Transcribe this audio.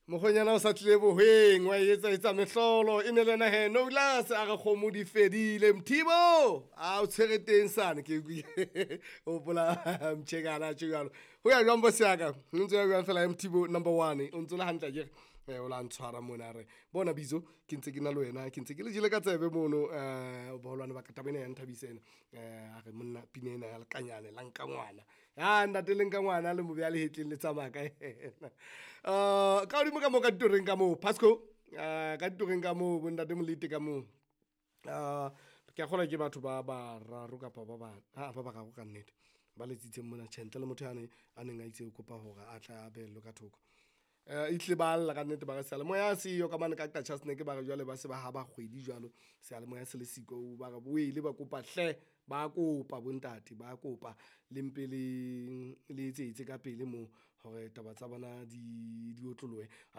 Mokgonyana o sa tlile bohweng wa etsa etsa mehlolo e ne le yena he Nolas a re kgomo di fedile Mthibo a o tshwere teng sane ke hopola mtjhekana tjho jwalo ho ya jwang boss ya ka o ntse ya jwang fela Mthibo number 1 o ntse le hantle akere o la ntshwara mona re bona bizo ke ntse ke na le wena ke ntse ke le jele ka tsebe mono boholwane ba ka taba ena ya nthabisa ena a re monna pina ena ya lekanyane la nka ngwana ya ntate le nka ngwana le mo beha lehetleng le tsamaya ka yena. Ka hodimo ka moo ka ditoreng ka moo Pasco ka ditoreng ka moo bontate Molete ka moo ke a kgolwa ke batho ba bararo kapa ba ba ha ba bararo ka nnete ba letsitseng mona. Tjhe, ntle le motho yane a neng a itse o kopa hore a tla a behellwe ka thoko. Ehlile ba lla ka nnete ba re seyalemoya seyo ka mane ka Qacha's Nek ba re jwale ba se ba haba kgwedi jwalo seyalemoya se le siko ba re wele ba kopa hle ba kopa bontate ba kopa le mpe le le etsetse ka pele moo hore taba tsa bona di otlolohe.